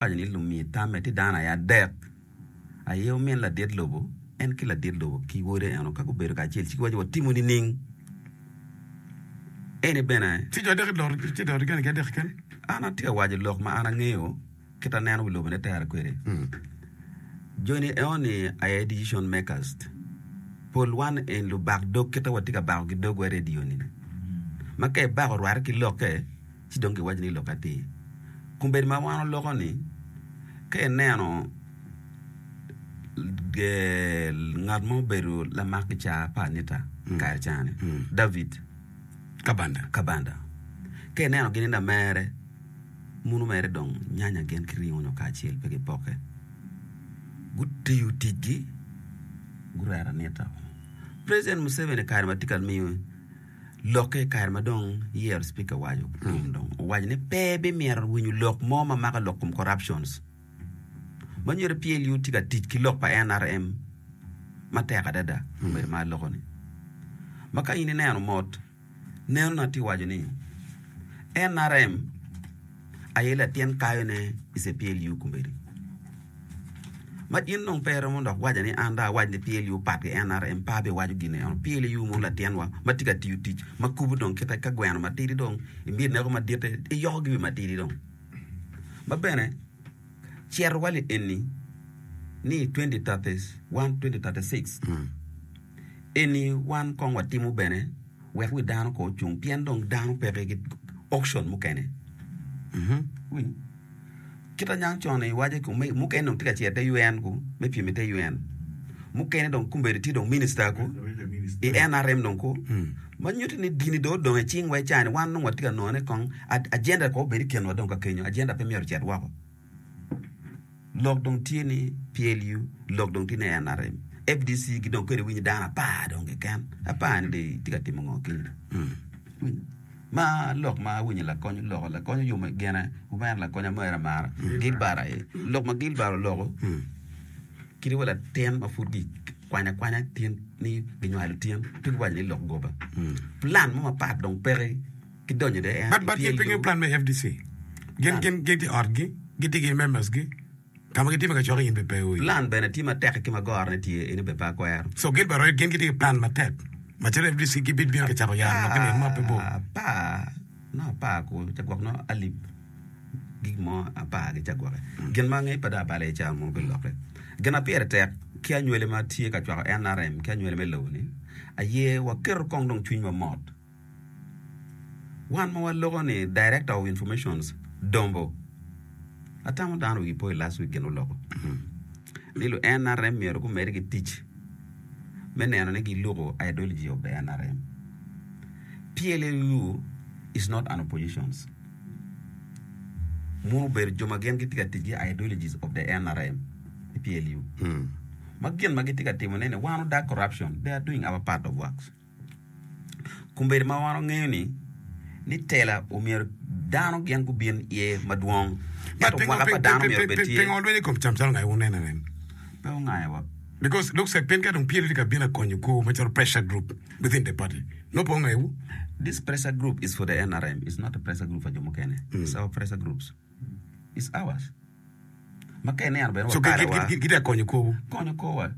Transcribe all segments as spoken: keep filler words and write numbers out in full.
Waco ni lumi tamme tye dano aye adek aye omin ladit lobo en ki ladit lobo ki wode eno ka gubedo kacel ci giwaco watimo nining eni bene Ci jo adek idoro ci idoro gene ki adek keken. An atye ka waco lok ma an angeyo kit aneno wi lobo ne tere kwede. Joni eno-ni aye decision makers. Pol wan en lubak dog kite watye ka bako ki dogwa i radio ni ma ka ibako orwate ki lokke ci dong giwaco ni lok atir. Kombeddi ma wan oloko ni, ka ineno ngat ma obedo lamak kicaa pa Anita i kare ca-ni, David Kabanda, Kabanda, ka ineno gin i lamere, muno mere dong nyanya gin ki ringo nyo kacel pe gipokke. Gutiyo ticgi, gureto Anita. President Museveni i kare ma tye ka miyo Lokke i kare ma dong iyero Speaker waco tum dong owaco ni pe bimito winyo lok mo ma mako lok kom corruptions ma nyuto P L U tye ka tic ki lok pa N R M matek adada obedo ma aloko ni ma ka in ineno mot neno na tye waco ni N R M aye latin kayo ne i C P L U kombeddi. Ma in dong pe iromo dok waco ni an dong awac ni P L U pat ki N R M pe abiwaco gin eno. P L U mono latin wa ma tye ka tiyo tic ma kubo dong kite ka gweno matidi dong imito neko maditte iyoko gi wi matidi dong. Ma bene cito wa li eni ni twenty thirty one twenty thirty six eni wan kong watimo bene wek wi dano kong ocung pien dong dano peke ki option mukene. Iwinyo? Kit anyang con iwaco ki mukene dong tye ka cito i te U N ku me pyem i te U N mukene dong kombeddi tye dong minista ku i N R M dong ku ma nyuto ni dini dong odong i cing wa i cani wan dong watye ka nongone kong agenda kong obed i kinwa dong ka kenyo agenda pe myero ocit woko lok dong tye ni P L U lok dong tye ni N R M F D C gi dong kadi winyo dano apar dong keken apar ni dong tye ka timo ngo kenyo. Ma lok ma awinyo lakony oloko, lakony oyumo gine, omera lakony amera amara, Gilbert aye. Lok ma Gilbert oloko, kadi wa latin ma pud gikwanyo akwanya tin ni ginywalo tin, pe giwaco ni lok goba. Plan mo mapat dong peke ki donyo de en But, but gin pe I P L U. ngeyo plan me F D C. Gin, gin, gin tye i otgi, gitye ki members gi. Ka ma gitye ka cokke in bene pe iwinyo. Plan bene tye matek ki ma gorone tye, eni bene pe akwero. So Gilbert Orit gin gitye ki plan matek macalo F D C gibibino ki cako yaro lok ni ma pe bor. Apar no apar ku ca gwok no alip gik mo apar gi ca gwoke. Gin ma angeyo pe dong abalo iye ca mo bilokke. Gin ma pire tek ki anywali ma tye ka cwako N R M ki anywali me lobo ni aye waketo kong dong cwinywa mot. Wan ma waloko ni Director of Informations Dombo, atamo dano wigi po i last week gin oloko ni lu N R M myero gumedde ki tic me neno ni giluko ideology of the N R M. P L U is not an oppositions. Mono obedo jo ma gin gitye ka tic ki ideologies of the N R M i P L U. Ma gin ma gitye ka timone ni wan odag corruption, they are doing our part of works. Kombeddi ma wan wangeyo ni ni tela omyero dano gin gubin iye madwong, But ento pingo mwaka pa ping dano ping myero ping obed ping tye. pingo lweny i kom cam calo nga wuneno nen? Pe ongayowa. Because looks like pien ka dong pyelo tye ka bino akonyo kwo macalo pressure group within the party. Nongo pe ongayowu. This pressure group is for the N R M, it's not a pressure group for jo mukene. It's our pressure groups. It's ours. Ma ka ineno bene So wa kare wa. gitye ka konyo korwu. Konyo korwa.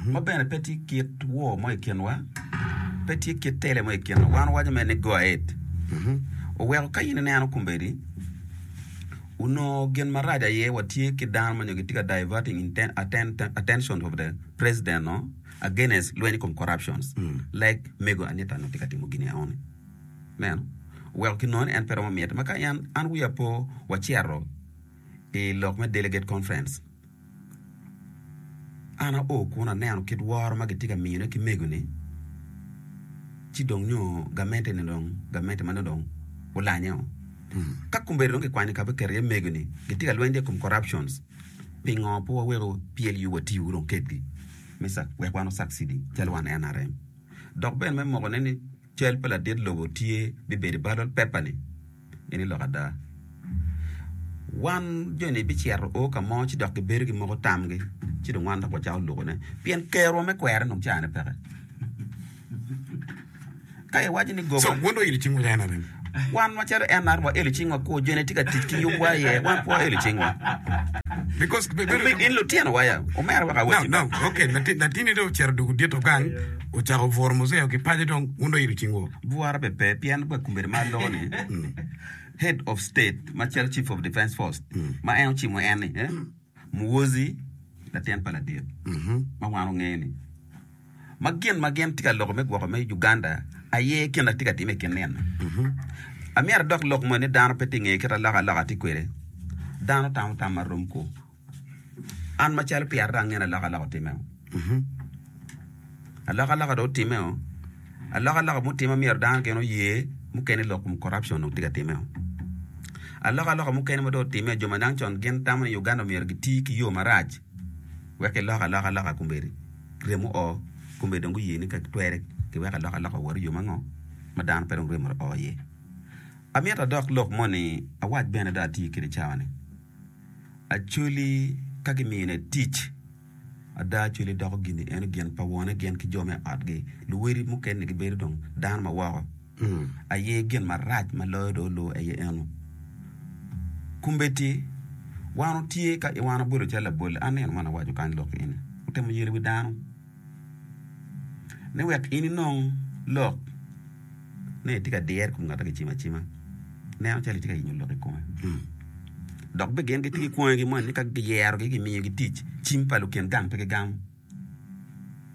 Ma bene pe tye kit woo mo i kinwa, pe tye kit tele mo i kinwa. Wan wawaco mere ni go ahead. Oweko ka in ineno kombeddi, onongo gin marac aye watye ki dano ma nyo gitye ka diverting attention of the president no against lweny i kom corruptions like mego Anita nongo tye ka timo gini enoni. Ineno? Oweko kinongo ni en pe romo mite. Ma ka en, an wiya po wacito i lok me delegate conference, an ao kun aneno kit woro ma gitye ka miyone ki mego-ni, ci dong nyo gamente-ni dong, gamente ma nongo dong olanye-o. Ka kombeddi dong kikwanyo ka biketo iye mego-ni, gitye ka lweny i kom corruptions, pingo pe waweko P L U watiyo dong kedgi me wek wan wa succeeding calo wan N R M? Dok bene me mokone ni cal pa ladit lobo tye bibedo i ballot paper-ni, Eni lok ada. Wan joni bicito o ka mo ci dok gibedo gimoko tamgi ci dong wan dok wacako lukone pien kerwa me kwere dong cane peke. Ka iwaco ni goba. So, wun dong ilo cingwu en anen? Wan macalo N R waelo cingwa kwo, joni tye ka tic ki yubwa iye, wan pe waelo cingwa. Because In lutino waya, omera wek No, awaci. no, okay, latin latini dong ocito dwogo dito gang, ocako buro muzee ki paco dong wun dong ilo cingwu. Bwara be pe, pien wa kombeddi ma aloko ni, head of state macalo chief of defense force ma en ocimo en ni, eh, Muhoozi latin pa ladit ma wan ongeyo ni ma gin ma gin tye ka loko me gwoko me Uganda aye gin na tye ka time i kin nino. Amyero adok lok mo ni dano pe tye ngeyo kit aloka aloka tye kwede. Dano tamo tam marom ko. An macalo pyera dong angeyo ni aloka aloka otime o. Aloka aloka dong otime o. Aloka aloka mutime myero dano gin oye mukene lok kom corruption dong tye ka time o. Aloka aloka mukene ma dong otime jo ma dang con gin tamo ni Uganda myero giti ki yo marac wek kilok aloka aloka kombeddi remo o kombeddi dong guye ni ka twere kiwek aloka aloka owot i yo mango ma dano pe dong remo o iye. Amito adok lok moni awac bene dong ati kwede cawa ni Acholi ka kimine tic ada Acholi doko gini eno gin pa wone gin ki jo me otgi luwedi mukene gibedo dong dano ma woko aye gin marac ma loyo dong olu aye eno. Kombeddi wan otye ka wan obedo calo labol an nino man awaco kany lok eni otemo yelo wi dano ni wek in inong lok ni itye ka dire i kom ngat ma kicimo acima neno calo itye ka yenyo lok i kome dok bene gin gitye ki kwongegi moni ni ka giyerogi gimiyogi tic cim pa lukin gang pe gigamo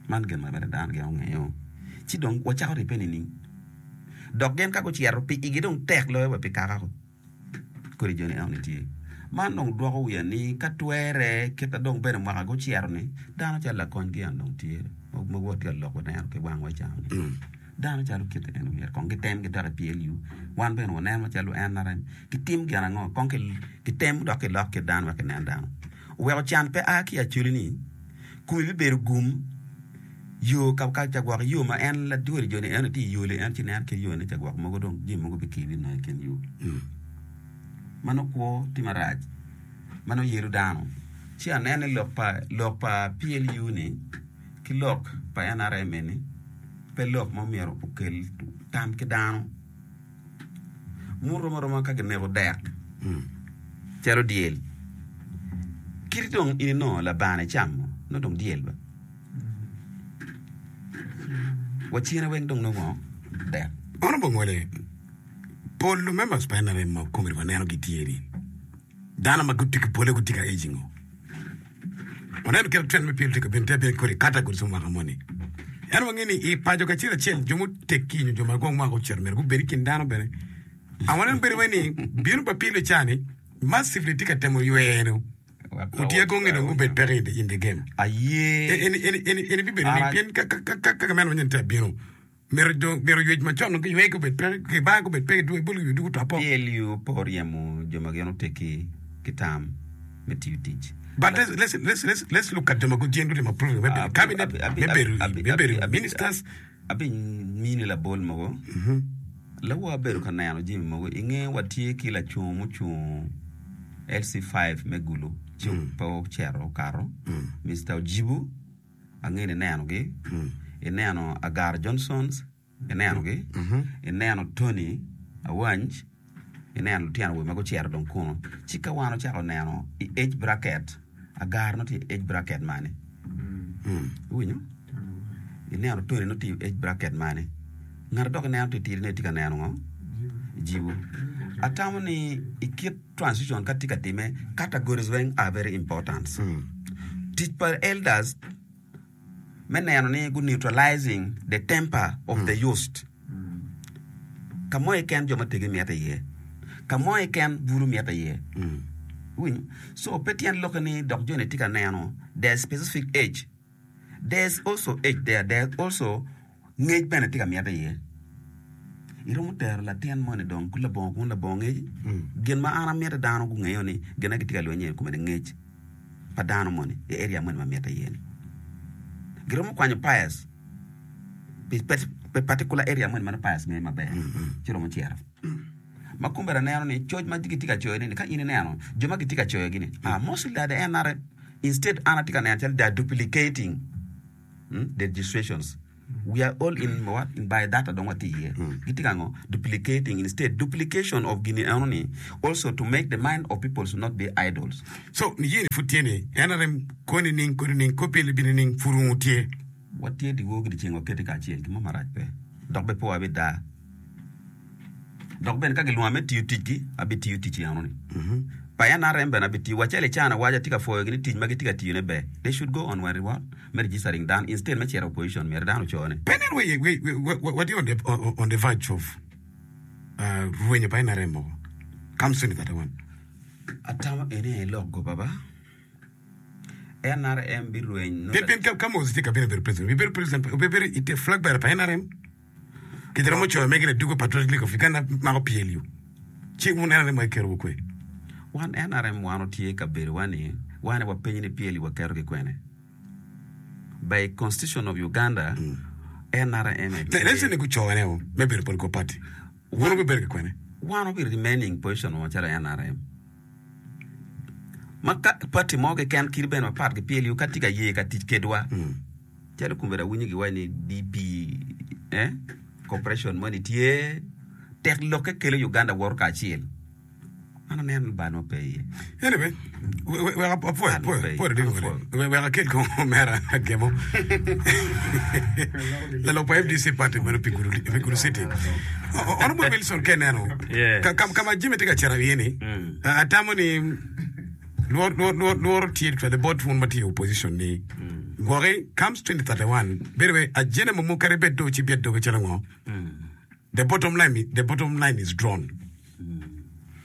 man gin ma bene dano gin ongeyo ci dong wacako ribbe nining dok gin ka gucito pi igi dong tek loyo wa pi kaka kodi joni enoni tye man dong dwoko wiya ni ka twere kit dong bene mwaka gucito ni dano calo lakony en dong tye ma watye ka loko neno ki wangwa cawa-ni dano calo kit eno myero kong gitem gidok i P L U wan bene waneno macalo N R M gitim gin ango kong gitem dok gilok kit dano wek ginen dano oweko can pe a ki Acholi ni komi bibedo gum yo ka cagwok yo ma en ladwodi joni eno tye i yole en ci nen ki yo ni cagwok mogo dong jami mogo bikili nongo i kin yo ma nongo kwo tye marac ma nongo yelo dano ci aneno ni lok pa lok pa P L U ni ki lok pa N R M eni pe lok ma myero okel tam ki dano muromo aroma ka gineko dek calo dyel kiti dong in inongo labane icamo nongo dong dyel ba wacine weng dong nongo dek. Honorable Ngwele, pol members pa N R M ma komedi waneno gitye ni dano ma gutye ki pole gutye ka aging o. Waneno kit trend me P L tye ka bino tye bino kodi categories mwaka moni. En wange ni i paco kacel acel jo muteggi nyo jo ma gwong mwaka ocito myero gubed i kin dano bene. A waneno bedo wai ni bino pa P L cani massively tye ka temo ywero otye konge dong gubed peke in the, in the game. Aye. Eni eni eni eni bibedo ni pien ka ka ka ka meno manyen tye abino myero jo myero ywec macon ki ywec gubed peke ki bar gubed peke dwe bol gi dugu topo. P L U pe oryemo jo ma gin oteggi ki tam me tiyo tic. But let's let's let's let's let's look at jo ma gujien gutimo approving me bedo cabinet me bedo me bedo ministers. Abi mini labol mogo lawo abedo ka neno jami mogo i nge watye ki lacungo mucungo L C five me Gulu ci pe ocito okato Mister Ojibu ange ni inenogi ineno Agar Johnsons inenogi ineno Tony Awanj ineno lutino awobe ma gucito dong kuno ci ka wan ocako neno i age bracket Agar nongo tye i age bracket mani iwinyo ineno Tony nongo tye i age bracket mani ngat dok ineno titidi ne tye ka neno ngo jibu atamo ni i kit transition ka tye ka time categories weng are very important tic pa elders me neno ni gu neutralizing the temper of the youth ka mo keken jo mategi mito iye ka mo keken bulu mito iye iwinyo so pe tyen lokke ni dok joni tye ka neno their specific age there's also age there there's also ngec bene tye ka mito iye iromo tero latin moni dong labongo kun labongo ngec gin ma an amito dano gungeyo ni gin na gitye ka lweny iye kome ni ngec pa dano moni i area moni ma mitte iye ni giromo kwanyo Pius pi pi particular area moni ma nongo Pius ngeyo maber ci romo cito ma kombeddi aneno ni coc ma gitye ka coyo ni ka in ineno jo ma gitye ka coyogi ni ah mostly are the N R M instead an atye ka neno calo they are duplicating mm, the registrations. We are all in what in by data dong watye iye. Gitye ka ngo? Duplicating instead duplication of gini eno ni also to make the mind of people should not be idols. So niye ni pud tye ni N R M ko nining ko nining ko pyel bino nining pud wungu tye. Watye dyewor ki dyeceng wakete kacel gin mo marac pe dok bene pe wabida. Dok bene ka gilwonga me tiyo ticgi, abitiyo tic eno-ni. Pa N R M bene abitiyo. Wacel i cana waco atye ka pwoyogi ni tic ma gitye ka tiyone ber. They should go on with what? Me registering dano instead me cito opposition myero dano ocone. Pe nen wa watye on the, on the verge of uh, rwenyo pa N R M mogo. Come soon that one. Atamo eni aye lok goba ba. N R M birweny. Pien pien ka, ka Moses tye ka bino bedo president, obibedo president, obibedo ite flag bearer pa N R M. Kite romo coyo mege ni dugo Patriotic League of Uganda mako P L U. Ci wun N R M wa iketo kwe. Wan N R M wan otye ka bedowa ni wan wapenyo ni P L U waketo ki kwene. By Constitution of Uganda, N R M aye Let's say ni gucoyo o me bedo political party. Wun obibedo ki kwene. Wan obi remaining position wa macalo N R M. Ma ka party mo keken kadi bene mapat ki P L U ka tye ka ye ka tic kedwa. Calo kombedo awinyo giwaco ni D P eh, corporation moni tye tek lokke kelo Uganda woto kacel. An aneno ni bal mo pe iye. Anyway, wek apwoyo apwoyo wek akel kong omera agemo lalok pa F D C party meno pi Gulu City. Honorable Wilson ke neno ka ma Jimmy tye ka cito iye ni atamo ni lworo tye twede bot wun ma tye i opposition ni gwoki comes twenty thirty-one bedo we agenda mo kadi bed do ci byet doge calo ngo, the bottom line the bottom line is drawn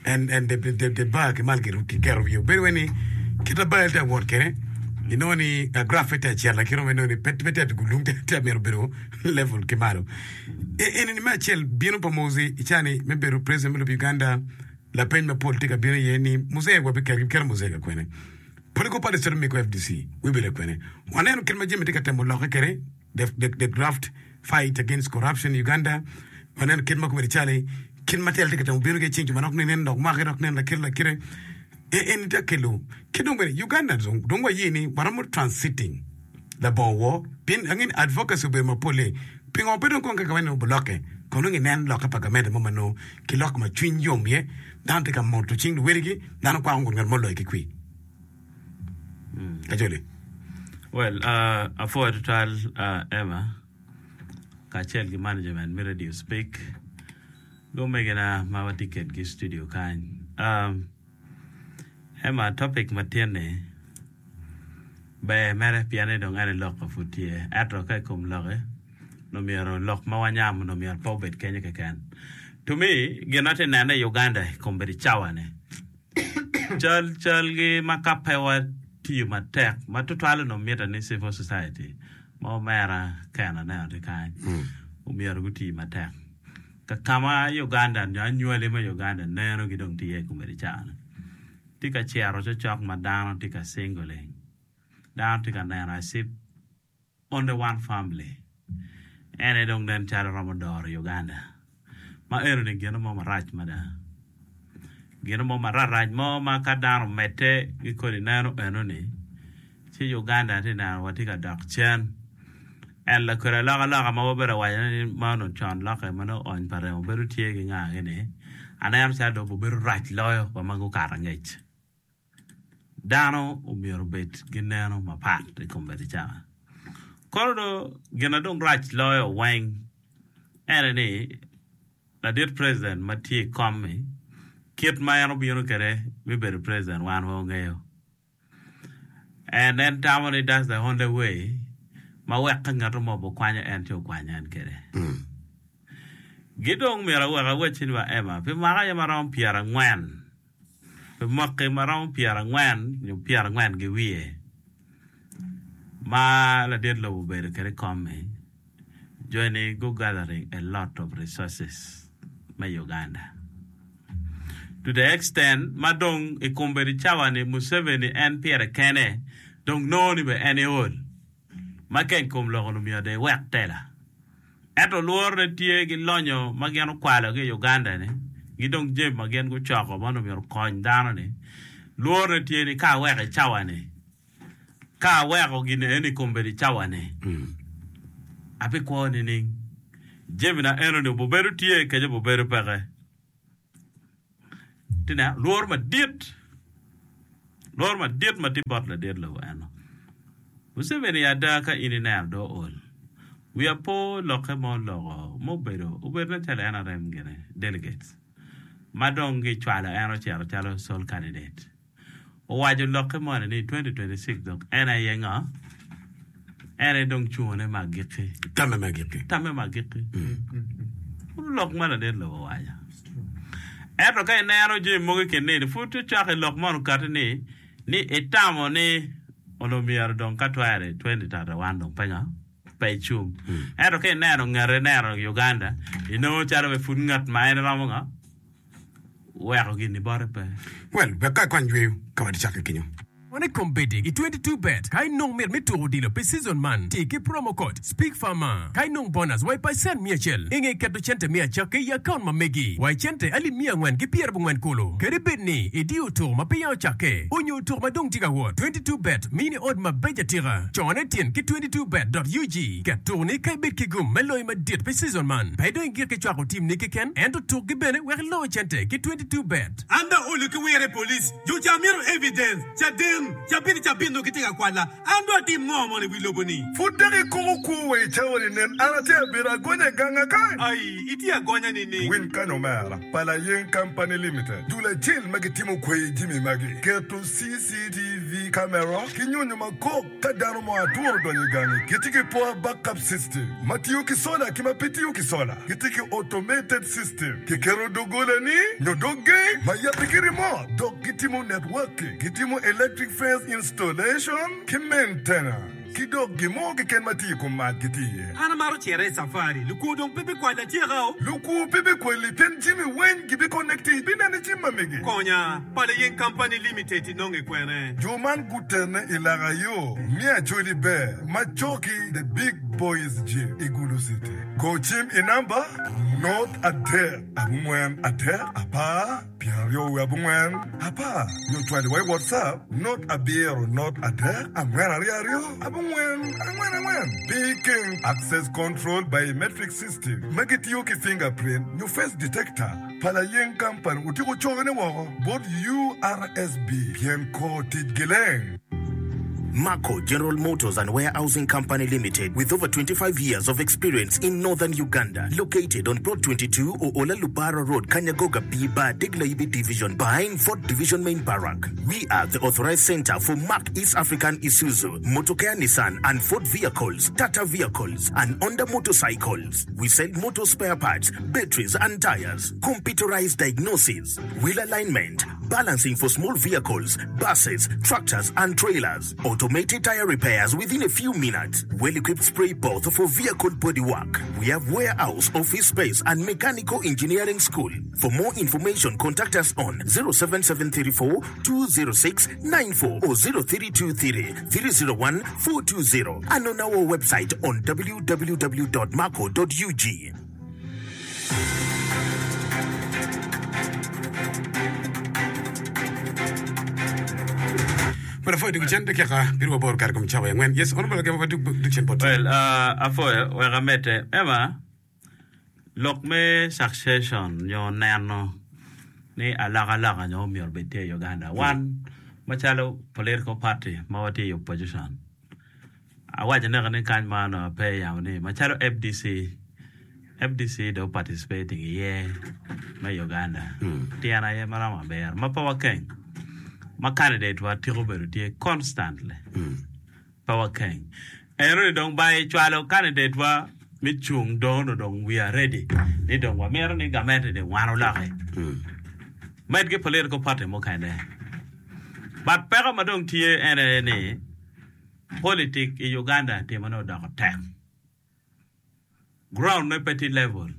and and the the the bar ki mal ki keto wiye bedo we ni kita bar tye awot kene inongo ni uh, graph tye acel lakino inongo ni pe pe tye atugo lung tye myero bedo level ki malo. Eni ni me acel bino pa Moses icani me bedo president me lobo Uganda. Lapeny mapol tye ka bino iye ni Muzee wabiketo keto Muzee ka kwene, political party cito miko F D C wibedo kwene. Waneno kit ma jami tye ka temo lokke kede the, the, the graft fight against corruption in Uganda. Waneno kit ma kobedo cali kit ma tel tye ka temo bino ki cing jo manok ni nen dok make dok nen lakite lakite en tye kelo ki dong bene Uganda dong dong waye ni waromo transiting labongo wo pien angin advocacy obedo mapol. Pingo pe dong kong kaka wane obolokke kono dong inen lokke pa gamente mo ma nongo ki lok ma cwiny yom iye dano tye ka moto cing luwedigi dano kwako ngut ngat mo loyo ki kwi kacoli. Well, uh, apwoyo tutwal uh, Emma kacel ki management me Radio Speak gomegina ma watye kedgi i studio kany. Um, Emma, topic ma tye-ni ber mere pien ni dong en lok ka pud tye ento ka i kom loke no myero lok ma wanyamo no myero pe obed kenyo keken. To me, gin ma tye nene i Uganda i kombeddi cawa-ni cal calgi ma ka pe watiyo matek ma tutwal onongo mitte ni civil society ma omera ken aneno tye kany omyero guti matek ka kama Uganda nyo anywali me Uganda nenogi dong tye iye i kombeddi cawa-ni tye ka cero cokcok ma dano tye ka singling dano tye ka neno as if only one family ene dong nen calo romo doro Uganda ma enoni gino mo marac mada gino mo mararac mo ma ka dano omedde ki kodi neno enoni ci Uganda tye neno watye ka dok cen en lakodi alokaloka ma wabedo waco ni ma onongo con lokke ma nongo ony pa remo bedo tye ki nga gini aneno calo dong obedo rac loyo wa ma gukato angec. Dano omyero obed ki neno mapat i kombeddi cawa kono do gin na dong rac loyo weng ene ni ladit president ma tye i kom-mi kit ma en obino kwede me bedo president wan wa ongeyo and en tamo ni that's the only way ma wek ka ngato mo bokwanyo en ci okwanyo en kwede gi dong myero awek awacci ni wa Emma pi mwaka aye maromo pyerangwen pi mwaki maromo pyerangwen nyo pyerangwen ki wiye ma ladit lobo obedo kwede i kom-mi joni go gathering a lot of resources me Uganda to the extent ma dong i kombeddi cawa ni Museveni en pire kene dong nongo ni be en eol ma keny kom loko ni myero dong ewek tela ento lworo tye gi lonyo ma gin okwalo ki i Uganda ni gi dong jami ma gin gucoko ma onongo myero okony dano ni lworo tye ni ka aweko i cawa ni ka aweko gini eni kombeddi cawa ni Abikwo nining? Jamina enoni obibedo tye kece obibedo peke. Itye neno? Lworo madit, lworo madit ma tye bot ladit lobo eno. Museveni ada ka in ineno dong ool. Wiya po lokke ma oloko ma obedo obedo nen calo N R M gine delegates ma dong gicwalo en ocito calo sole candidate. Owaco lokke moni ni twenty twenty-six dong en aye ngo? En aye dong cungone me agikki. Tamme me agikki. Tamme me agikki. Lok ma ladit lobo owaco. Ento ka ineno jami mogo i kin nini pud ocako i lok man okati ni ni itamo ni onongo myero dong ka twere twenty thirty-one dong pe ngo? Pe icung. Ento ka ineno ngete ineno Uganda inongo calo be pud ngat ma en romo ngo? Weko gini bote pe. Well, wek ka ikwany yweyo ka wadi cakke kenyo. One kombeddi i twenty-two bet ka inong mit me tuko odilo pi season man ti ki promo code Speak Farmer ka inong bonus wa i percent miya acel inge keto cente miya acakke i account ma megi wa i cente alip miya angwen ki pyerabongwen kulu kadi bed ni idiyo tuko ma peya ocakke onyo tuko ma dong tye ka wot. twenty-two bet mini od mabeco atika cone tyen ki twenty-two bet dot U G ket tuko ni ka ibed ki gum me loyo madit pi season man pe dong igik ki cwako tim ni keken ento tukgi bene wek ilo cente ki twenty-two bet. An dong olo ki wire police jo ca mito evidence caden cabit cabit no gitye ka kwala an dong atim ngo mono i wi lobo ni. Pud dok ikuko kwo wa i cawa-ni nen an atye abedo agonya i ganga kany. Ai itye agonya nining? Winy kany omera pa Layeng Company Limited dul acel ma gitimo kweyi jami magi keto C C T V camera ki nyonyo makok ka dano mo aturo donyo i gangi gitye ki power backup system ma tiyo ki solar ki ma pe tiyo ki solar gitye ki automated system kiketo doggola-ni nyo dog gate ma yabbe ki remote dok gitimo networking gitimo electric fence installation ki maintenance ki dok gin mo keken ma tye i kom mac gitye iye. An amaro cito i safari lukwo dong pe bikwalo atyeka o. Lukwo pe bikwali pien jami weng gibiconnecti bineno i cim ma megi. Konya pa Layeng Company Limited inonge kwene. Jo man gutene i laka yo me Acholi Ber ma coki The Big Boys Gym i Gulu City. Go cim i namba nought adek abongwen adek apar pyeraryo wiye abongwen apar nyo cwali wa i WhatsApp nought abiro nought adek angwen aryo aryo abongwen angwen angwen. Peking Access Control Biometric System ma gitiyo ki fingerprint nyo face detector pa Layeng Company otyeko cokone woko bot U R S B pien kor tic gileng. Marco General Motors and Warehousing Company Limited, with over twenty-five years of experience in northern Uganda, located on Plot twenty-two Oola Lubara Road, Kanyagoga B Bar, Degla Division, behind Fort Division Main Barrack. We are the authorized center for Mark East African Isuzu, Motocare Nissan and Ford vehicles, Tata vehicles, and Honda motorcycles. We sell motor spare parts, batteries and tires, computerized diagnosis, wheel alignment, balancing for small vehicles, buses, tractors, and trailers, automated tire repairs within a few minutes, well-equipped spray booth for vehicle bodywork. We have warehouse, office space, and mechanical engineering school. For more information, contact us on zero seven seven three four two zero six nine four or zero three two three three zero one four two zero and on our website on w w w dot marco dot U g. Well, afoyo duk cen dakika piero aboro kare kom cawa angwen. Yes, honorable Agema ba duk duk cen bot. Well, uh, afoyo wek amedde ema lok me succession nyo neno ni alokaloka nyo myero obed tye i Uganda. Wan macalo political party ma watye i opposition awaco neka ni kany ma onongo pe yamo ni macalo F D C F D C dong participating iye me Uganda tyen aye maromo abiro ma pe wakeng ma candidate wa tiko bedo tye constantly pe wakeng enoni dong ba icwalo candidate wa me cung dong onongo dong we are ready ni dong wamito ni gamente ni wan oloki med ki political party mukene but peko ma dong tye en aye ni politic i Uganda timone odoko tek ground ne pe tye level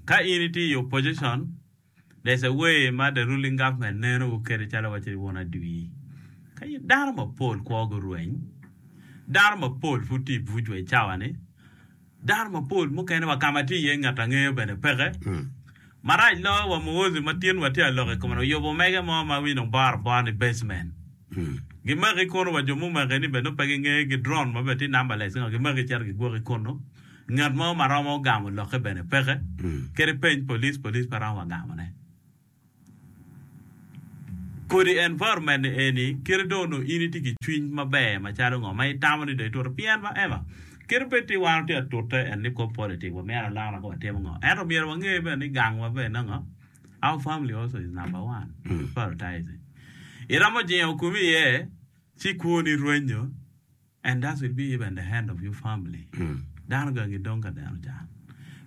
ka in itye i opposition there's a way ma the ruling government neno kede calo waci wun adwi ka in dano mapol kwogi orweny dano mapol pud tye i buc wa i cawa ni dano mapol mukene wa kama tye iye ngat angeyo bene peke marac loyo wa Muhoozi ma tin watye alok i kome oyubo mege mo ma winyo dong boro abora ni basement gimaki kunu wa jo mumaki ni bene pe gingeyo gi drone ma bene tye numberless ngo gimaki cito gigwoki kunu Ngat mo ma romo gamo lokke bene peke. Kadi peny police, police pe romo wa gamone. Kodi environment ni eni kite dong onongo in itye ki cwiny maber macalo ngo ma itamo ni dong ituto pien ma ema kite bed ti wan watye ka tute en ni kop politic wamito alokaloka watimo ngo ento myero wange bene ni gang wa bene ngo our family also is number one prioritizing iromo jingo komi iye ci kwoni rwenyo And that will be even the end of your family. Dano gangi dong ka deno can.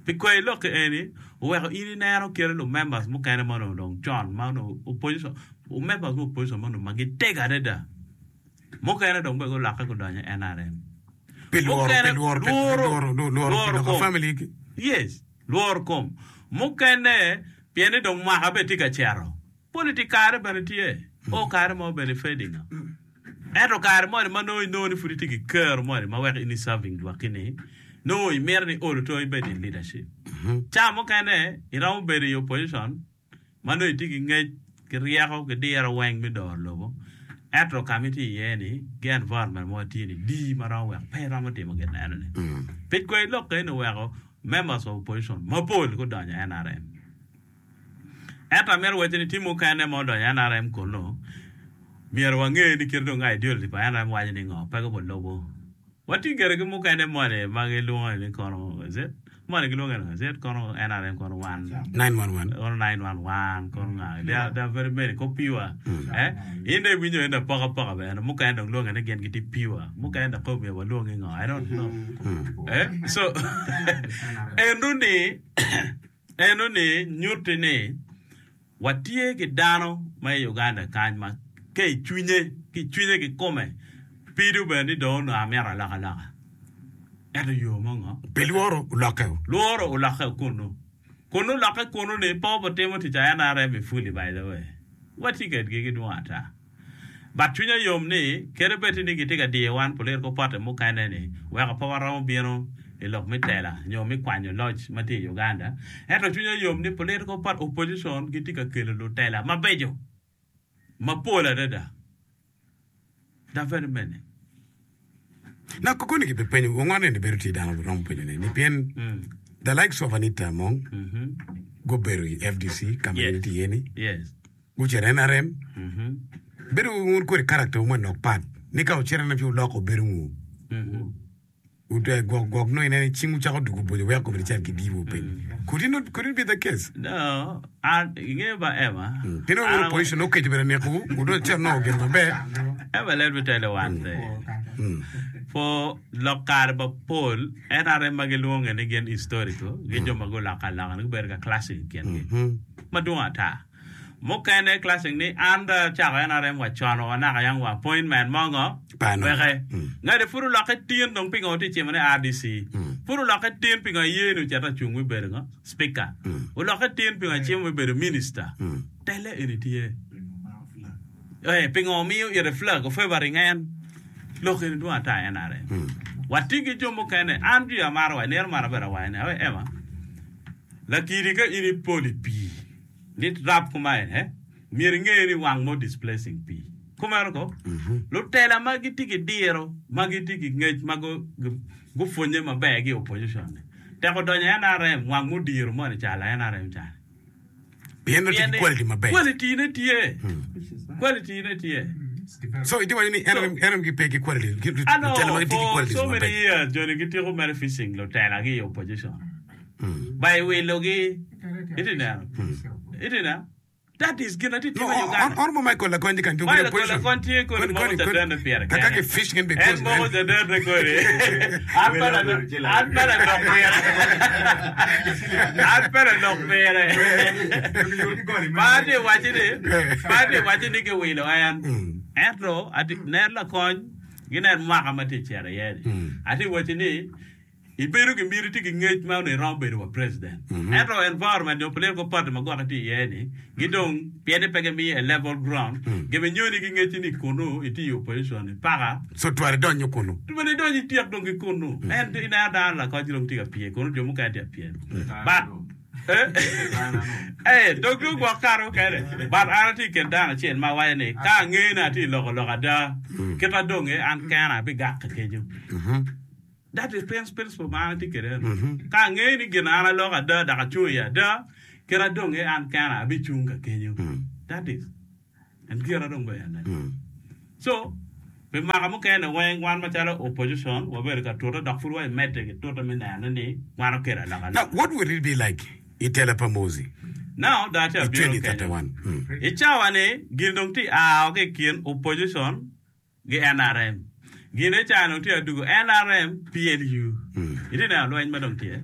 Pi kwayi lok ki eni, oweko in ineno kite lu members mukene ma onongo dong con ma onongo opposition, members me opposition ma onongo ma gitego adada. Mukene dong bene gulokke gudonyo i N R M. Pi lworo, pi Mukene lworo, pi lworo, lworo, lworo, pi lworo loko kom. family gi. Yes, lworo kom. Mukene pien ni dong mwaka bene tye ka cito. Politic kare bene tye. O kare mo bene fading. Ento kare moni ma nongo inongo ni pud itye ki kero moni ma weko in i serving lwakki-ni, nongo imito ni olo to ibed in leadership. Ca mukene iromo bedo i opposition ma nongo itye ki ngec, ki ryeko, ki diro weng me doro lobo, ento ka ma itye iye-ni ki environment ma watye-ni dii ma romo weko pe iromo timo gin enoni. Pi kwai lok eni oweko members of opposition mapol gudonyo i N R M. Ento amito wacci ni tye mukene ma odonyo i N R M kunnu, myero wange ni kite dong ideology pa N R M waco ni ngo, pe gubulubo. Watye gire ki mukene moni ma gilwongo ni kono is it? Moni gilwonge ni is it? Kono N R M kono one. nine one one. Kono nine one one kono nga. They are, they are very many. Ko pure. Eh? In dong iwinyo en apokapoka bene. Mukene dong lwonge ni gin gitye pure. Mukene dok myero walwongi ngo. I don't know. Eh? So, eno ni eno ni nyutti ni watye ki dano ma i Uganda kany ma ka i cwinye ki cwinye kikome pido bene ni dong onongo amito alokaloka ento yo mo ngo. Pi lworo olokke. Lworo olokke kunu kunu olokke kunu ni pe obitimo tic a N R M i fully. By the way, watye kedgi gidwong ata, but cwinya yom ni kede bed ni gitye ka diyo wan political party mukene ni weko pe waromo bino i lok me tela nyo me kwanyo loc ma tye i Uganda, ento cwinya yom ni political party opposition gitye ka kelo lutela mabeco mapol adada. There are very many. Na kokoni ki penyo wongone ni bedo tye dano romo penyo ni ni pien mm. the likes of Anita Among mm-hmm. gubedo i F D C ka ma Yes. gin tye iye ni yes gucito N R M mm-hmm. bedo wun kodi character mo nok pat ni ka ocito N R M ci oloko bedo ngu Mm-hmm. Ute gwok gwok no inene cing wucako dugo bonyo weko komedi cal ki dibo piny. Could it not could it be the case? No, an ingeyo ba Emma. Pien An wun opposition okeco bene nekowu wudo cito nongo gin maber. Emma, let me tell you one thing. For lok kare mapol, N R M ma gilwonge ni gin historical, gin jo ma guloko aloka ni gubedo ka clashing i kingi. Madwong ata. Mukene clashing ni an dong acako N R M wa con wa naka yang wa appointment mo ngo Pano. weke. Ngati pud olokke tin dong pingo tye cimo ni R D C. Pud olokke tin pingo iye ni ocito acung me bedo ngo speaker. Olokke tin pingo acimo me bedo minister. Tele eni tye. Eh, pingo miyo ite flag of favoring en lok eni dwong ata N R M. Watye ki jo mukene an jwi amaro wa nino man aber awaco ni awe Emma lakidi ka in ipolo i pii ni rap kumaen eh myero inge ni wang mo displacing pii kumeno ko lutela ma gitye ki diro ma gitye ki ngec ma gu- gu- gupwonye maber ki opposition ni teko donyo N R M wang mudiro moni calo N R M cani. Pien no tye ki quality maber. Quality ne tye, quality ne tye. So itye waco ni N R M N R M gipe ki quality. Gi- Ano, Lutela ma gitye ki for qualities so many maber. years joni gitiko mere fishing lutela ki i opposition by wilogi iti neno iti neno that is gin atye No, timo i Uganda. Honorable Michael Lakonji kan Michael Lakonji tye kodi moko cadenne pire Kaka kene. ki fish gen En because moko cadenne kodi. An pe la- an pe lalok pire. An pe lalok pire. Pa atye waci ni, pa atye waci ni giwilo en. Ento ati nen lakony ginen mwaka ma tye cito iye ni. Atye waci ni ibedo ki miti tye ki ngec ma onongo iromo bedo wa president. Ento environment nyo political party ma gwokke tye iye ni gidong pien ni pe gimiyo a level ground gibinyoni ki ngecci ni kunu itye i opposition ni paka So tware donyo kunu. Bene idonyo ityek dong ki kunu. En ineno dano lakony dong tye ka pye kunu jo mukene tye ka pye. But eh eh dong dong gwok kare mukene. But an atye i kin dano acel ma awaco ni ka ange ni atye i loko lok ada kita donge an kena abigak kenyo. That is principle ma an atye kwede eno. Ka angeyo ni gin an aloko ada dok acung iye ada, kit adong iye an kena abicung ka kenyo. That is en gira dong bene ene. So, pi mwaka mukene weng wan macalo opposition wabedo ka tute dok pud wa imedde ki tute me neno ni wan okelo Now, alokaloka. what will it be like i tela pa Muhoozi Now, dong atye i abino twenty kenyo. thirty one? I cawa ni gin dong tye ao ki i kin opposition gi N R M. Gin aye ca dong tye adugo N R M P L U. Itye neno lweny ma dong tye.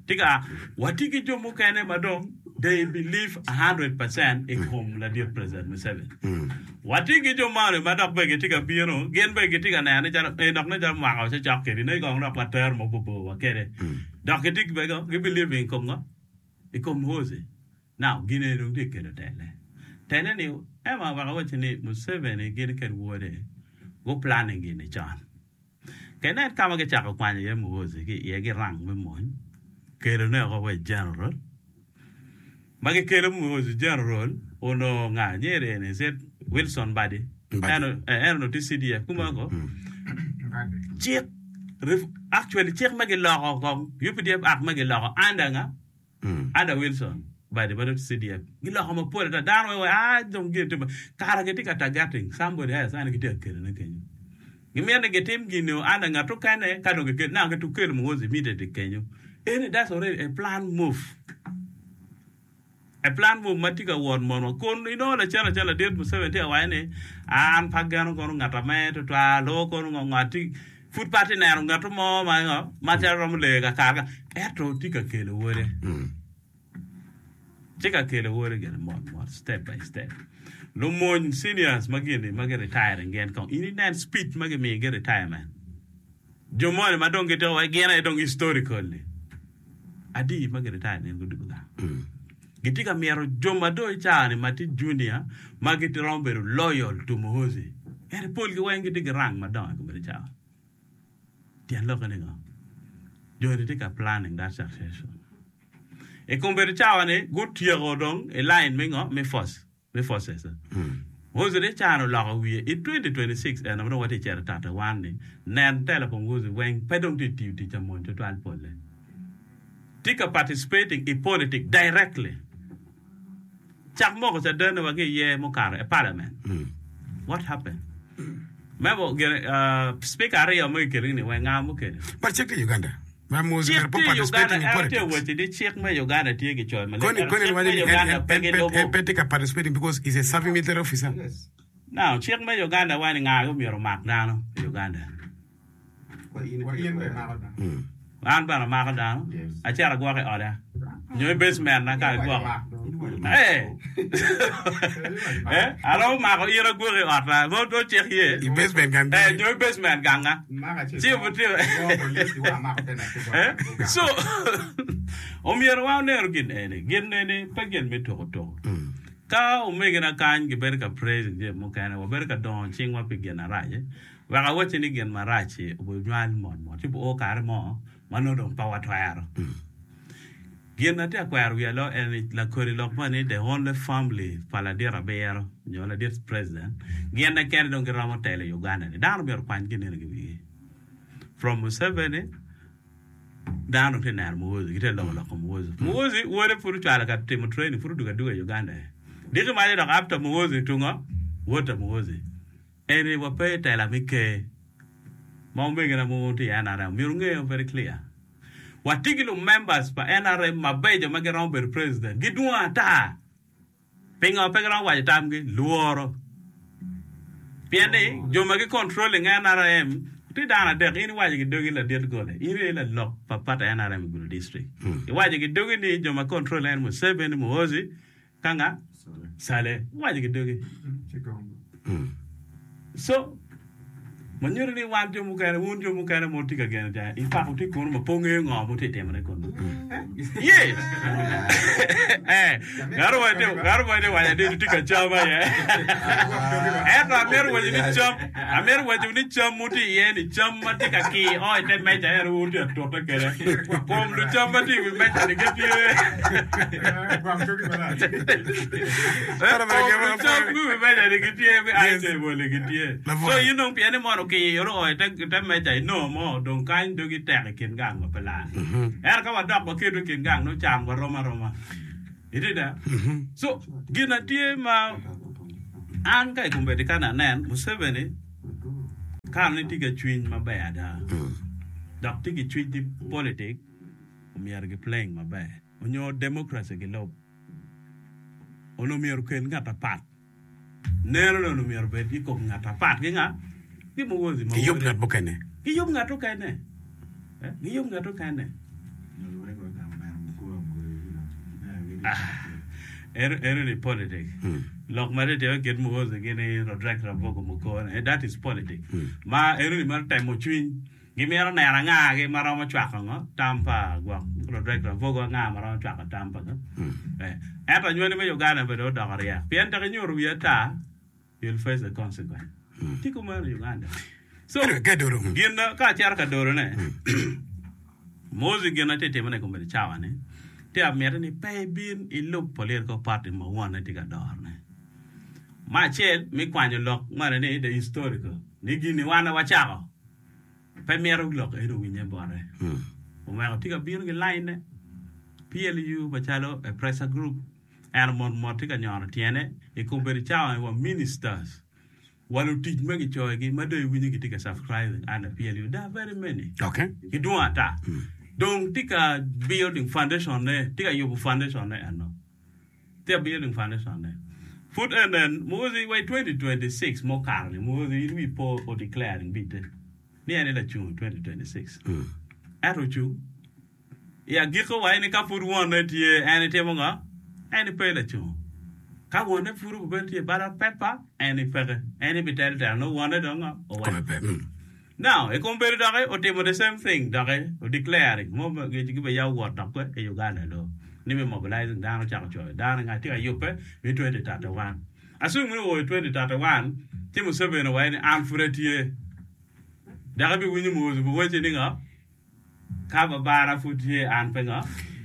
Tika watye ki jo mukene ma dong they believe one hundred percent i kom ladit President Museveni. Watye ki jo moni ma dok bene gitye ka bino, gin bene gitye ka neno ni calo eh, dok nen calo mwaka ocecok kedi, nongo kong dok watero mabobor wa kede. Dok gitye bene gi believe i kom ngo? I kom Muhoozi. Now, gin eni dong tye ka kelo tele. Tele ni, ema wek awacci ni Museveni gin ked wode gu planning gini con. Ka inen ka ma gicako kwanyo iye Muhoozi ki iye gi rank me mony, kelone oko wa i general. Ma gikelo Muhoozi general, onongo nga nyeri eni, is it Wilson Mbadi? Mbadi. En eh, en onongo tye C D F kuma ko. Cik, ref- actually cik ma giloko kong, U P D F Act ma giloko under nga? Under Wilson Mbadi ma dong C D F. Giloko mapol ata dano weng ah dong gin timo kara gitye ka targeting somebody else ane gitye ka kelone kenyo. Gimito ni gitim gini o under ngat okene ka dong gikelo now gitu kelo Muhoozi immediately kenyo. Eni that's already a plan move. A plan move ma tye ka wot monwa kun inongo lacen lacen ladit Museveni tye ka waco ni an pe ageno kono ngat ame tutwal o kono ngo ngat pud pe atye neno ngat mo ma ngo ma calo romo leyo kakare ka ento tye ka kelo wode. Tye ka kelo wode gire mot mot, step by step. Lumony seniors ma gini ma gi retiring gin kong in inen speech ma gimiyo gi retirement. Jo moni ma dong gitye wa gin aye dong historically adi ma gi retire nin gudugo gang. Gitye ka myero jo ma dong i cawa ni ma tye junior ma giromo bedo loyal to Muhoozi. Ento polgi weng gitye ki rank madongo i komedi cawa. Tyen lokke ni ngo? Joni tye ka planning that succession. I komedi cawa ni gutyeko dong i line me ngo? Me force. Me forces. Muhoozi ni cano oloko wiye i twenty twenty-six eno ma dong watye cito tate wan ni nen telo pa Muhoozi weng pe dong tye tiyo tic amony tutwal polle. Tye ka participating i politics directly. Cak moko cadene wa ki iye mukato i parliament. What happened? Memo gine, uh, speaker aryo ma gikelo ni weng nga mukelo. But cik tye Uganda. Ma Muhoozi Cik pe tye Uganda, participating in en tye politics. waco ni cik me Uganda tye gicoyo maleng. Koni Ento koni cik waco me ni en Uganda en pe en gilubo. en pe tye ka participating because he's a serving military officer. Now, cik me Uganda waco ni nga myero omak dano i Uganda. An bene amako dano, acito agwoko i oda. Nyo i basement na ka igwoko. Eh. Eh, aromo mako in agwoko i ot mo do cik ye. I basement gang. Eh, nyo i basement ganga. Ci obutimo. Eh, so omyero wa oneno gin eni. Gin eni pe gin me tuko tuko. Ka omegina kany gibedo ka praising jami mukene, wabedo ka dongo cingwa pi gin arac. eh. Wek awacci ni gin marac-ci obinywal mot mot ci oo kare mo ma nongo dong pe watwero. Gin na tye akwero wiya lo en ni lakodi lok mo ni the only family pa ladit abiro nyo ladit president gin kene dong giromo telo i Uganda ni dano myero okwany gin eni ki wigi. From Museveni dano tye neno Muhoozi gitye loko loko Muhoozi. Muhoozi wode pud ocwalo ka timo training pud odugo aduga i Uganda. Diki maco dok after Muhoozi tungo wod ta Muhoozi. Eni wape tela me ker ma omegina mo tye i N R M myero ongeyo very clear. Watye ki lu members pa N R M mabeco ma giromo bedo president gidwong ata. Pingo pe giromo waco tamgi lworo. Pien ni jo ma gi controlling N R M tye dano adek in iwaco ki dogi ladit gole in aye lalok pa party N R M i Gulu district. Iwaco ki dogi ni jo ma control en Museveni, Muhoozi ka nga Saleh iwaco ki dogi. So manyuto ni wan jo mukene wun jo mukene ma wutye ka geno ca in fact wutye kunu ma pe wungeyo ngo ma wutye timone kunu. Yes. Eh, ngato mo tye ngato mo tye waco ni tye ka cam aye. Ento amito waco ni cam amito waco ni cam mutye iye ni cam ma tye ka kir o i te meja en wun tye ka tute kwede. Kom lucam ma tye i wi meja ni gitye. Kom lucam me wi meja ni gitye mi ice table ni gitye. So in dong pien ni mono Okiro o i te meja inongo mo dong kany dogi tek i kin gang ma pe lar. Ento ka wadok waketo i kin gang nongo can warom aroma. Itye da? So gin a tye ma an ka i kombeddi ka anen Museveni kare ni tye ki cwiny maber ada dok tye ki cwiny ni politik omyero gi playing maber onyo democracy gilub onongo myero okel ngat apat. Neno ni onongo myero obed i kom ngat apat ki nga? Ki Muhoozi ma Giyub wode. ngat mukene. Giyub ngat mukene. Eh, giyub ngat mukene. Ah, eno, eno ni politic. Lok ma tye timo kit Muhoozi gini Rodreck Rabogo Mukone, eh, that is politic. Ma eno ni mar temo cwiny. Gimito neno angagi ma romo cwako ngo tam pa gwok Rodreck Ravogo anga ma romo cwako tam pa ngo. Eh, ento anywali me Uganda bene odoko ryek pien tek inyuto wi ata you'll face the consequence. Tye kumeno i Uganda. So Anyway, ka idoro. mm. gin na ka acito ka dorone Moses gin na tye timone i kombeddi cawa ni tye amiti ni pe ibin ilub political party ma wonne tye ka dorone. Me acel me kwanyo lok moni ni the historical ni gini wan aye wacako Pe mito lok eni owinye bote. Omeko tye ka bino ki laine PLU macalo a pressure group ento mot mot tye ka nyono tyene i kombeddi cawa ni wa ministers wa lutic ma gicoyogi ma dong iwinyo gitye ka subscribing under PLU there are very many Okay. gidwong ata dong tye ka building foundation ne tye ka yubo foundation ne eno. Tye building foundation ne. Pud en en Muhoozi wa i twenty twenty six ma okato ni Muhoozi in wi po o declaring bite ni en aye lacung i twenty twenty six ento ocung i agiko wa ni ka pud wonne tye en etimo ngo en pe lacung ka wonne pud obedo tye i ballot paper en peke en ebitelo telo nongo wonne dong ngo oweko. Now, i kom bedo doki otimo the same thing doki o declaring mo gibe ya owot dok kwe i Uganda do ni me mobilizing dano ocako coyo dano nga tye ka yubbe me twenty thirty one assume ni oo i twenty thirty one ci Museveni owaco ni an pud atye dok ibiwinyo Muhoozi biwacci ni ngo Ka babana pud tye an pe ngo?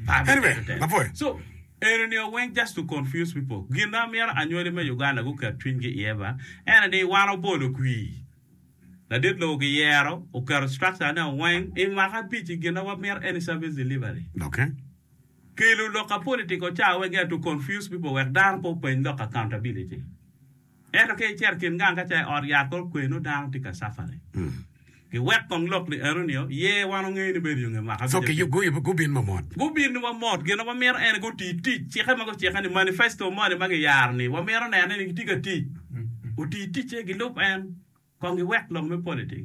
Pe Anyway, abitedo telo. apwoyo. So, eno ni weng just to confuse people. Gin ma myero anywali me Uganda guket cwinygi iye ba, ene ni wan obolo kwir. Ladit lobo giyero, oketo structure ne weng i mwaka abic i gin ma wamito eni service delivery. Okay. Kelo lok ka political ca weng gin to confuse people wek dano pe openy lok accountability. Ento ka icito i kin gang ka ca i ot yat kor kwe nongo dano tye ka suffering. Giwek kong lok ni eno nio ye wan ongeyo ni bedo yo nge mwaka So abic ki abic. gubin ma mot. Gubin wa mot gin ma wamito en guti tic cikke ma gucikke ni manifesto moni ma giyaro ni wamito nene ni gitye ka tic oti ticce gilub en kong giwek lok me politic.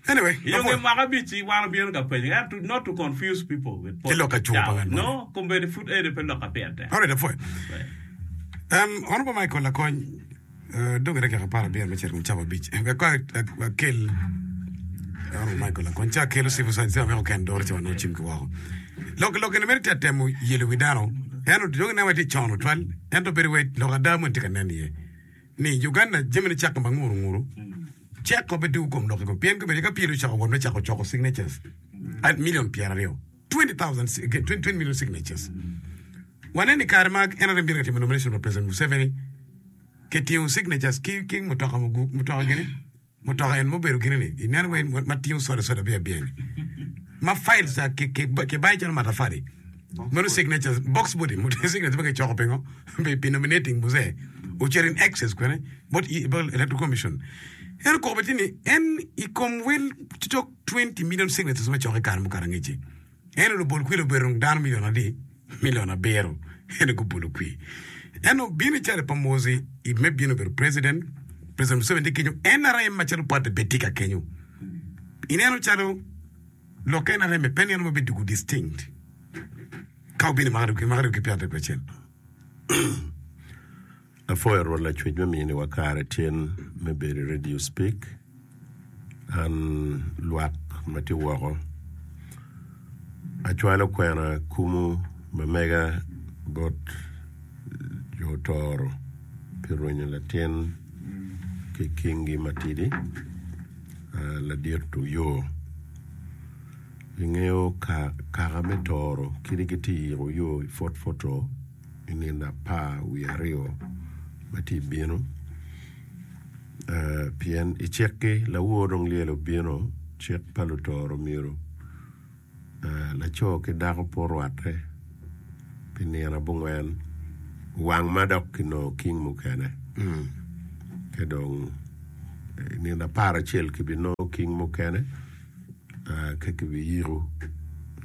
Anyway, I yo nge apwoyo. mwaka abic-ci wan obino ka penyo en to not to confuse people with Ki lok politics. acungo pa Ciao. ngat moni. No, kombeddi pud eni pe lok ka pire tek. Alright, apwoyo. Right. Um, Honorable Michael Lakony, uh, dong dakika apar abiro me cito kom cawa abic. Wek kong akel Honorable Michael Lakony, ca akelo civil servant, ca weko ken doro ca wanongo cim ki woko. Lok lok eni mere tye atemo yelo wi dano, ento dong ineno tye con tutwal, ento bedo wai lok ada moni tye ka nen iye. Ni Uganda jamine cako ma nguru nguru, ceko pe dugo kom lok i kom pien kobedo ka pyelo ocako wot me cako coko signatures at million pyeraryo twenty thousand twenty million signatures. Waneno i kare ma N R M bino ka timo nomination pa President Museveni, kitingo signatures ki ki mutoka mutoka gini mutoka en mubedo gini ni ineno wai ma tingo soda soda abiya abiya ni ma files ca ki ki kibayo calo matafali meno signatures box body signatures ma kicoko pingo pi pi nominating Muzee ocito in excess kwene bot bot electoral commission ento koko bene tye ni en i kom wel cok twenty million signatures ma coko i kare mukato angec-ci. Ento lubol kwir obedo dong dano milion adi? Milion abiro. Ento gubolo kwir. Ento bino i cale pa Mozi i me bino bedo president, President Museveni tye kenyo, N R M macalo party bene tye ka kenyo. Ineno calo lok N R M pe nino ma bidwogo distinct ka obino i mwaka aryo ki pyeraryo ki acel. Apwoyo Rwot Lacwec me miniwa kare tin me bedo i Radio Speak. An lwak ma tye woko. Acwalo kwena kumu ma mega bot jo Toro pi rwenyo latin ki kingi matidi ladit Oyoo. Ingeyo kaka me Toro kadi gitye yiko Oyoo i Fort Portal. I nino apar wiye aryo ma tye bino, Pien i cik-ki, lawor dong lyel obino, cik pa lutoro myero laco ki dako pe orwatte pi nino abongwen wang ma dok kinongo king mukene. Ka dong i nino apar acel kibinongo king mukene ka kibiyiko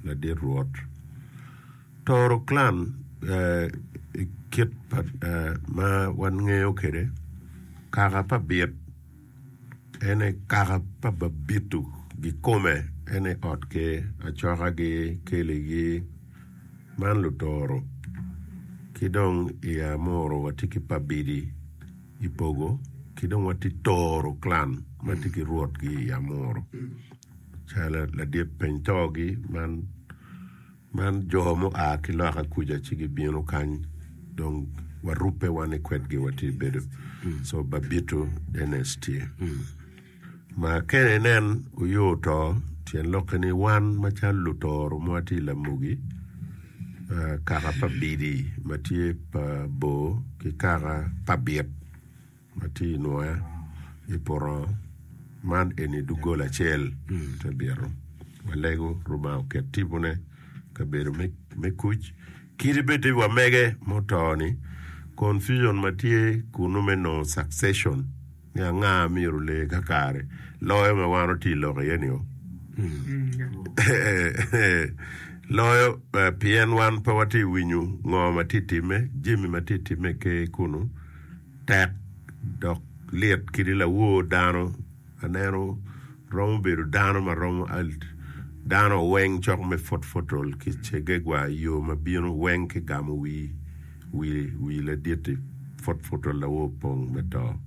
ladit Rwot. Toro clan i kit ma wan ngeyo kwede kaka pa bit en aye kaka pa babito kikome en aye ot ker acokagi keligi man lutoro ki dong i amuru watye ki pabidi i pogo ki dong watye toro clan ma tye ki rwotgi i amuru calo ladit peny togi man Man jo mua ki loka kuca ci gibino kany dong warubbe wan i kwedgi watye bedo so Babito Dennis tye ma kene inen oyo to tyen lokke ni wan macalo lutoro ma watye i Lamugi kaka pa Bidi ma tye pa Bor ki kaka pa Bit ma tye i nwoya i poto man eni doggola acel te bito. Walego Rubanga oket tipone kabedo me kuc. Kadi bed ni wamege muto-ni, confusion ma tye kunnu me nongo succession ni anga myero ole kakare loyo ma wan watye lok iye-ni-o. Loyo pien wan pe watye winyo ngo ma tye timme, jami ma tye timme i ker kunnu. Tek dok lit kadi lawor dano aneno romo bedo dano ma romo dano weng cok me Fort Portal ki Kyegegwa i yo ma bino weng ki gamo wi wi ladit-ti Fort Portal lawor pong me to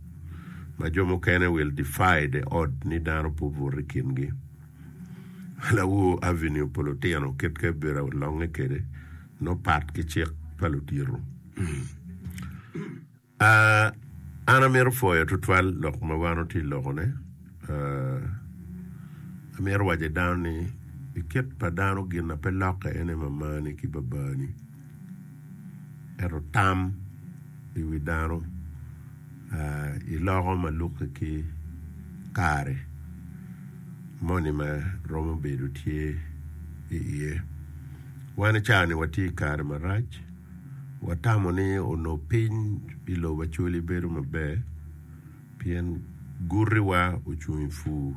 ma jo mukene will defy the odd ni dano pe obuto i kingi lawor avenue pa lutino kit ka bedo longe kwede nongo pat ki cik pa ludito. An amito pwoyo tutwal lok ma wan watye ka lokone. Amito waco ki dano ni i kit pa dano gin ma pe lokke en aye mamani ki babani. Ento tam i wi dano iloko ma lukke ki kare moni ma romo bedo tye iye. Wan i cawa-ni watye i kare marac. Watamo ni onongo piny i lobo Acholi bedo maber pien gutiwa ocung i pur,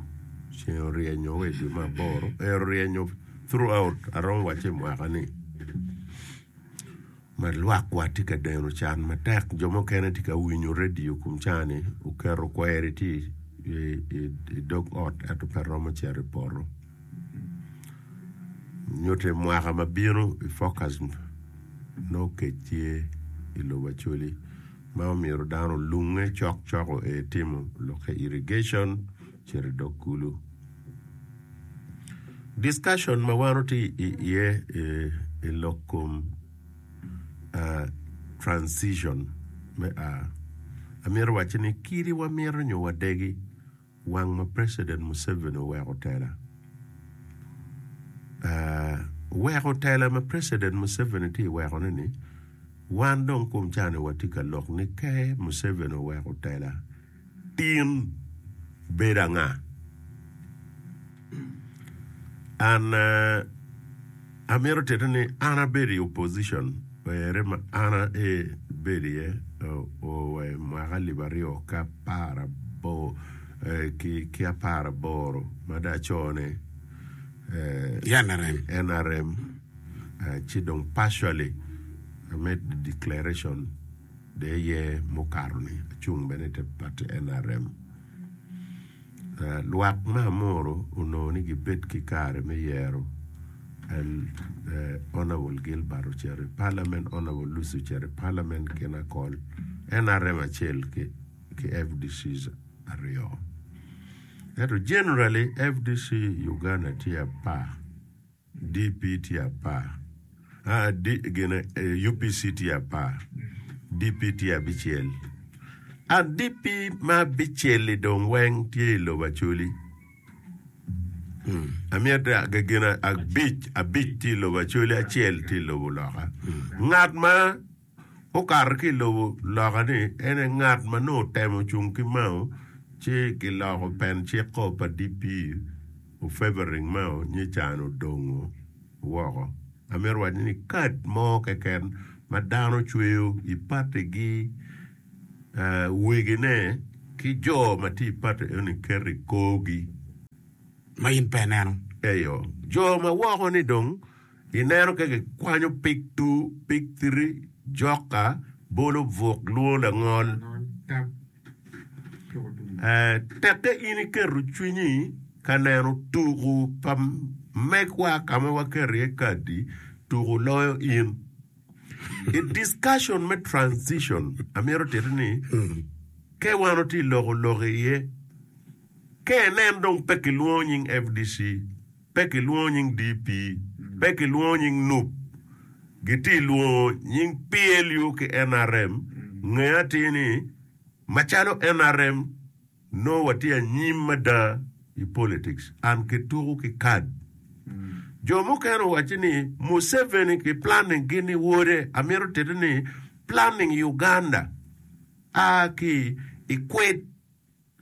ceng oryenyo wa i dwe me aboro, en oryenyo throughout aromo wacci i mwaka-ni ma lwakwa tye ka deno can matek jo mukene tye ka winyo redio kom caa-ni oketo kweri tye i dog ot ento pe romo cito i poto. Nyute mwaka ma bino i focus nongo kec tye i lobo Acholi ma omyero dano olunge cok cok oe timo lokke irrigation cito i dog kulu. Discussion ma wan watye iye i lok kom transition me a amito wacci ni kadi wamito nyo wadegi Wang ma President Museveni oweko tela. Weko tela ma President Museveni tye iweko ne ni, wan dong kom cani watye ka lok ni ke Museveni oweko tela tin bedo anga? An amito tite ni an abedo i opposition ere ma an abedo iye wa i mwaka alip aryo ki apar ki apar aboro ma dong acone N R M ci dong partially I made the declaration dong aye mukato-ni acung bene i te party N R M. Lwak me Amuru onongo ni gibed ki kare me yero Honourable Gilbert ocito i Parliament, Honourable Lucy ocito i Parliament gin akol N R M acel ki F D Cs aryo. Ento generally F D C i Uganda tye apar. D P tye apar, U P C tye apar, D P tye abicel. And D P ma abicel-li dong weng tye i lobo Acholi. Amito gin abic, abic tye i lobo Acholi, acel tye i lobo loka. Ngat ma okato ki i lobo loka-ni en aye ngat ma nongo otemo cung ki Mao Ci kiloko pen cikko pa D P ofavoring Mao nyican odongo woko. Amito waco ni kad mo keken ma dano cweyo i patigi wegine ki jo ma tye i pati eni keto i korgi. Ma in pe ineno. Eyo. Jo ma woko ni dong ineno ka gikwanyo pig two, pig three, joka, bolo buk, lwongo langol. Tekke in iketo cwinyi ka neno tuku pa megwa ka ma waketo iye kadi, tuku loyo in. I discussion me transition, amito titi ni ke wan watye loko lok iye, ke inen dong pe kilwongo nying F D C, pe kilwongo nying D P, pe kilwongo nying N U P, gitye lwongo nying P L U ki N R M, nge atir ni macalo N R M nongo watye anyim mada i politics and kituko ki kad. Jo mukene owaco ni Museveni ki planning gin ni wode, amito titi ni planning Uganda a ki i kwed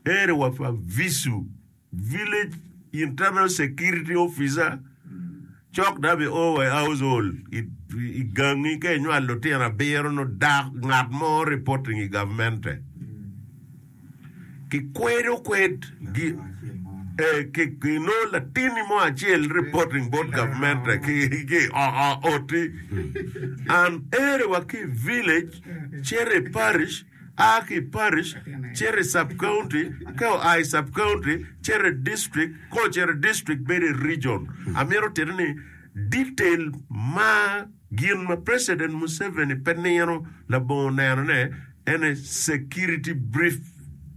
ere wa pa V I S O, Village Internal Security Officer, cok da bi o wa i household i gangi ka inywalo lutino abiro nongo dak ngat mo reporting i gavmente kikwedo kwed gi nongo latinni mo acel reporting bot gavmente ki i oti and ere wa ki i village cito i parish a ki i parish cito i sub county ka oa i sub county cito i district ka ocito i district bedo i region. Amito titi ni detail ma gin ma President Museveni pe nino labongo nenone ene security brief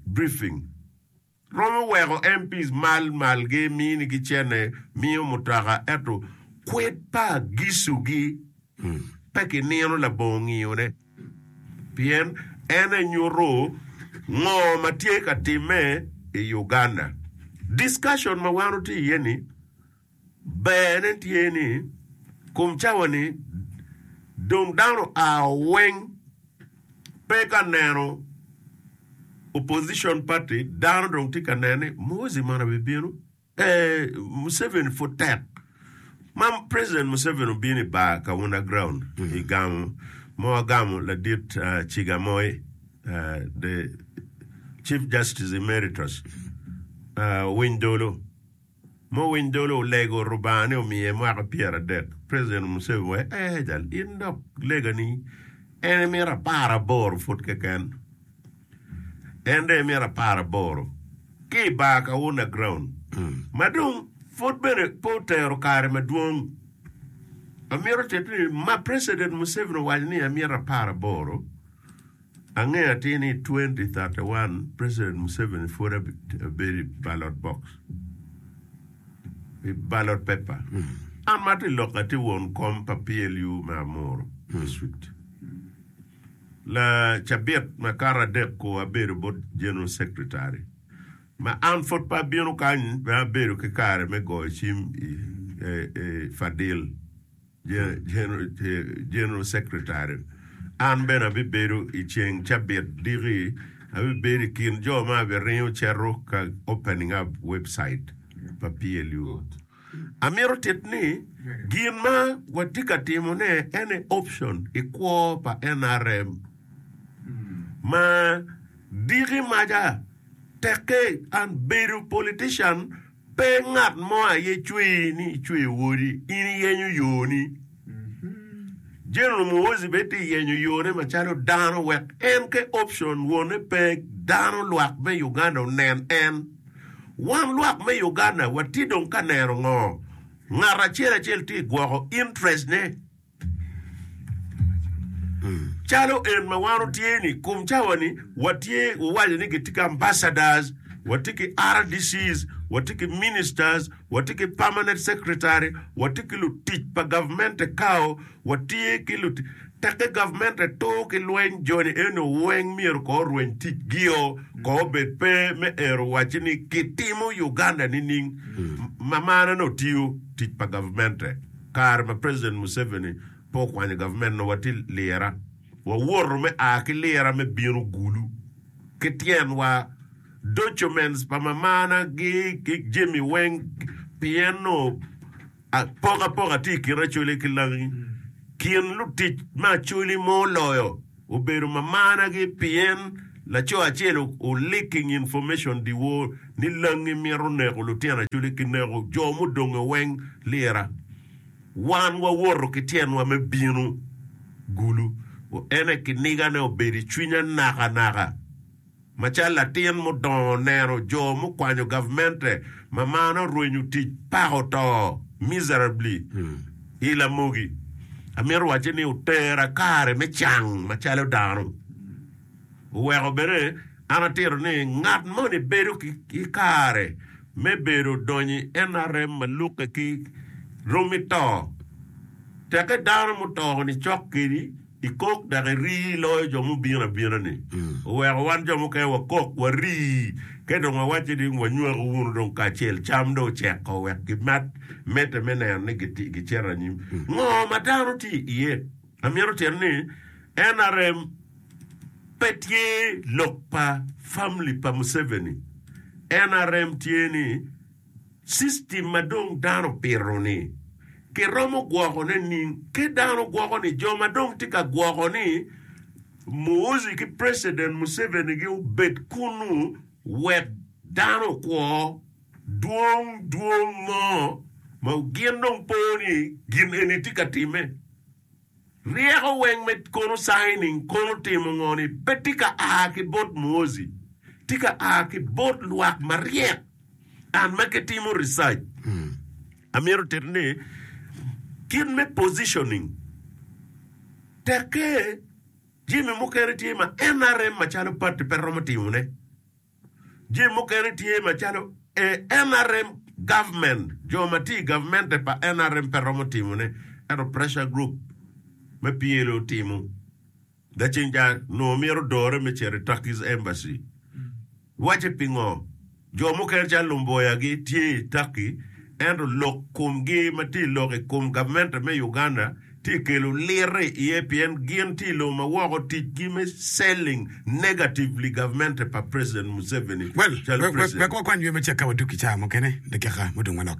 briefing romo weko M Ps mal malgi minigi cene miyo mutoka ento kwed pa gisugi pe kinino labongo ngiyone pien en enyuto ngo ma tye ka timme i Uganda. Discussion ma wan watye iye ni berne tye ni kom cawa ni dong dano oa weng pe ka neno opposition party, dano dong tye ka neno ni Muhoozi mono bibino eh, Museveni pud tek ma President Museveni obino i bar Kawunda ground i gamo ma wagamo ladit uh, Chigamoi uh, the Chief Justice Emeritus uh, Winy Dolo mo Winy Dolo olego Rubanga ni omiye mwaka pyeradek. President Museveni waco eh jal in dok legani en emito apar aboro pud keken en dong emito apar aboro ki i bar Kawunda ground ma dong pud bene pe otero kare madwong. Amito tito ni ma President Museveni owaco ni amito apar aboro angeyo atir ni twenty thirty-one President Museveni pud abedo i ballot box, i ballot paper. An ma atye lok atye won kom pa P L U me Amuru district la cabit makato adek ko abedo bot General Secretary ma an pud pe abino kany pe abedo ki kare me goyo cim i, i Fadil General, General Secretary. An bene abibedo i ceng cabit diki abibedo i kin jo ma abiringo cito ka opening up website pa P L U. Amito tit ni gin ma watye ka timone ene option i kwo pa N R M ma diki maca tekke an bedo politician pe ngat mo aye cweyi ni icweyo wodi in iyenyo yoni. General Muhoozi bene tye yenyo yone macalo dano wek en ke option wone pe dano lwak me Uganda onen en wan lwak me Uganda watye dong ka neno ngo ngat acel acel tye gwoko interest ne calo en ma wan otye ni kum cawa ni watye owaco ni gitye ki ambassadors, watye ki R D Cs, watye ki ministers, watye ki permanent secretary, watye ki lutic pa government kao watye ki lutic tekke government tur ki lweny joni eno weng myero ko orweny tic gio ko obed pe me ero waci ni kitimo Uganda nining ma mano no tiyo tic pa government kare ma President Museveni pe okwanyo government no watye lira wawoto me a ki lira me bino Gulu ki tyenwa Documents pa mamana gi ki jami weng pien nongo apokapoka tye i kin Acholi ki Langi. Kin lutic me Acholi ma oloyo obedo mamana gi pien laco acel o leaking information dyewor ni Langi mito neko lutino Acholi ki neko jo mudonge weng lira. Wan wawoto ki tyenwa me bino Gulu. Ene kinigane obedo i cwinya nakanaka. Macalo latin mudongo neno jo mukwanyo gavmente ma mano orwenyo tic pako to miserably i lamogi, amito wacce ni otera kare me cang macalo dano. Oweko bene an atito ni ngat moni bedo ki kare me bedo donyo i NRM ma lukke ki romi to. Tekke dano muto-ni cok kedi Ikok dok irii loyo jo mubino abina-ni. Oweko wan jo mukene wakok, warii, ka dong wawacce ni wanywako wunu dong kacel, cam dong oceko wek gimat medde me neno ni gicito anyim. Ngo ma dano tye iye? Amito tito ni NRM pe tye lok pa family pa Museveni. NRM tye ni System ma dong dano opito ni kiromo gwoko ne ning? Ki dano gwoko ni jo ma dong tye ka gwoko ni Muhoozi ki President Museveni gi obed kunu wek dano okwo dwong dwong mo ma gin dong po ni gin eni tye ka time. Ryeko weng me kono signing kono timo ngo ni pe tye ka a ki bot Muhoozi, tye ka a ki bot lwak maryek and ma gitimo research. Amito tito ni kit me positioning tekke jami mukene tye ma NRM macalo party pe romo timone. Jami mukene tye macalo NRM government, jo ma tye i gavmente pa NRM pe romo timone, ento pressure group me PLO timo. Laceng ca nongo mito dore me cito i Turkey's embassy. Wacce pingo? Jo mukene calo Lumboya-gi tye i Turkey ento lok komgi ma tye lok i kom gavmente me Uganda tye kelo lirre iye pien gin tye i lobo ma woko ticgi me selling negatively gavmente pa President Museveni Well, calo wek president. wakwany ywe macek ka wadug ki cawa mukene dakika mudong manok.